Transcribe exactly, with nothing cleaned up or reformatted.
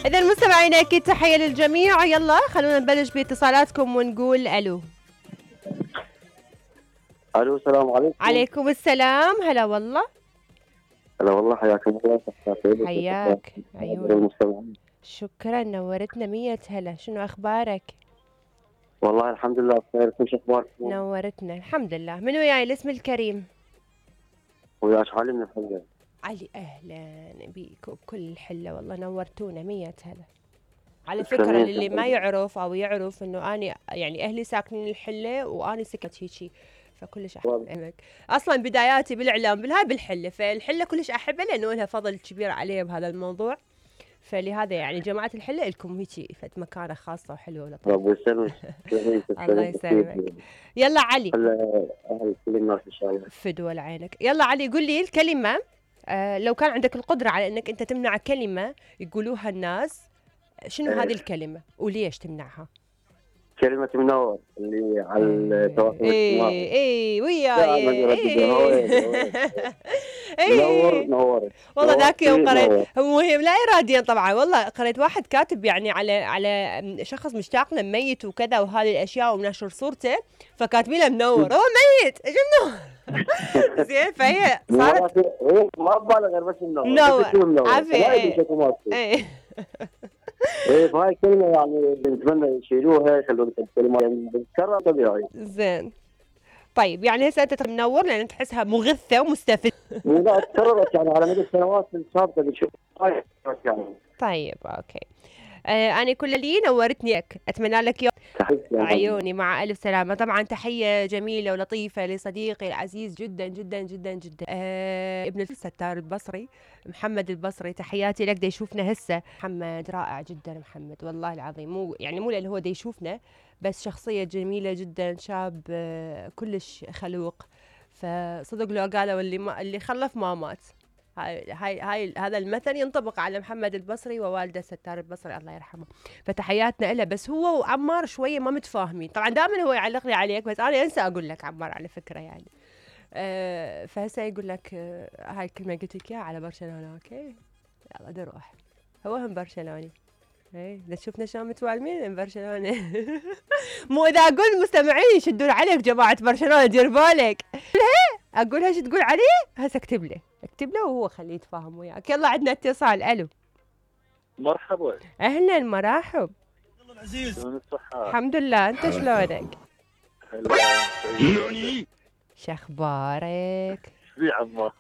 إذا مستمعينا أكيد تحية للجميع. يلا خلونا نبلش باتصالاتكم ونقول ألو. الو السلام عليكم. عليكم السلام. هلا والله. هلا والله، حياكم الله. حياك عيوني. شكرا، نورتنا مية هلا. شنو أخبارك؟ والله الحمد لله بخير. شو أخباركم؟ نورتنا الحمد لله. من وياي الاسم الكريم؟ وياك علي من الحلة. علي أهلا بيك وبكل الحلة، والله نورتونا مية هلا. على فكرة للي ما يعرف أو يعرف إنه أنا يعني أهلي ساكنين الحلة وأنا سكت هيجي، فكلش أحبك. أصلا بداياتي بالإعلام بالهاي بالحلة، فالحلة كلش أحبها لأنه لها فضل كبير علي بهذا الموضوع، فلهذا يعني جماعة الحلة لكم هيجي فد مكانة خاصة وحلوة ولطيفة. ربي يسلمك. الله يسلمك. يلا علي. هلا أهل كل الناس إن شاء الله. فدوى لعينك. يلا علي قول لي الكلمة، آه لو كان عندك القدرة على إنك أنت تمنع كلمة يقولوها الناس، شنو هذه الكلمة وليش تمنعها؟ كلمة منور اللي على التواصل الاجتماعي. اي اي وياي. منور نورت. والله ذاك يوم قريت، مهم لا اراديا طبعا، والله قريت واحد كاتب يعني على على شخص مشتاق له ميت وكذا وهذه الاشياء ونشر صورته، فكاتبين له منور، هو ميت ايش منور. زين فهي صارت ما ببالغ غير بس منور. منور عافية. اي ايه فهاي الكلمة يعني بنتمنى يشيلوها يخلون الكلمة يعني بتكرر طبيعي. زين طيب يعني هسه انت منور لان تحسها مغثة ومستفزة. لا تكررت يعني على مدى السنوات السابقة بنشوف يعني. طيب اوكي. آه أنا كل لي نورتني لك، أتمنى لك يوم عيوني مع ألف سلامة. طبعا تحية جميلة ولطيفة لصديقي العزيز جدا جدا جدا جدا آه ابن الستار البصري محمد البصري، تحياتي لك. دا يشوفنا هسه محمد رائع جدا محمد والله العظيم، مو يعني مو لأنه هو دا يشوفنا بس شخصية جميلة جدا، شاب آه كلش خلوق، فصدق لو قالوا اللي ما اللي خلف ما مات. هاي هاي هاي هذا المثل ينطبق على محمد البصري ووالده ستار البصري الله يرحمه، فتحياتنا له. بس هو وعمار شويه ما متفاهمين، طبعا دائما هو يعلق لي عليك بس انا انسى اقول لك عمار على فكره يعني. أه فهسه يقول لك أه هاي الكلمه قلت لك اياها على برشلونه. اوكي يلا نروح، هو هم برشلوني. ايه اذا شفنا شلون متوالمين من برشلونه. مو اذا اقول مستمعين يشدون عليك جماعه برشلونه دير بالك. اقول ايش تقول عليه؟ هسه اكتب له اكتب له وهو خليه يتفاهم وياك. يلا عندنا اتصال. الو مرحبا. اهلا مرحب. والله العزيز شلون الصحة؟ الحمد لله، انت شلونك؟ حلو. شخبارك؟ شبيه عمار؟